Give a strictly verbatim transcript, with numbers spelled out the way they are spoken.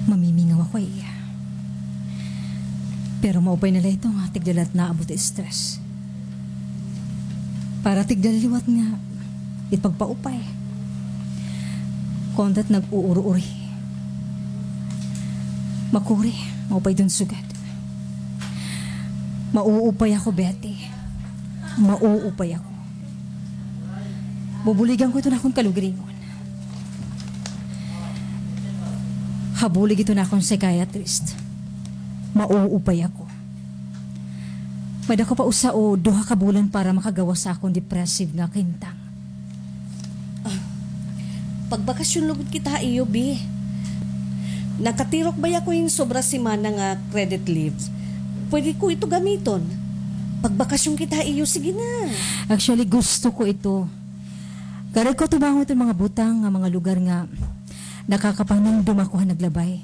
Mamimingaw ako, eh. Pero maupay na la ito nga tigda la it naabot it stress. Para tigda la liwat nga it pagpaupay. Kontra it nag-uuro-uri. Makuri, maupay dun sugad. Mauupay ako, Betty. Mauupay ako. Bubuligan ko iton akon kalugaringon. Ha bulig iton akon psychiatrist. Mauupay ako. May-ada ko pa usa o duha ka bulan para makagawas ha akon depressive nga kahimtang. Ah, pagbakasyon lugod kita ha iyo, bi. Nakatirok baya ako hin sobra semana nga credit leave. Pwede ko ito gamiton. Pagbakasyon kita ha iyo, sige na. Actually, gusto ko ito. Karuyag ko tubangon iton mga butang nga mga lugar nga nakakapanumdom ako ha naglabay.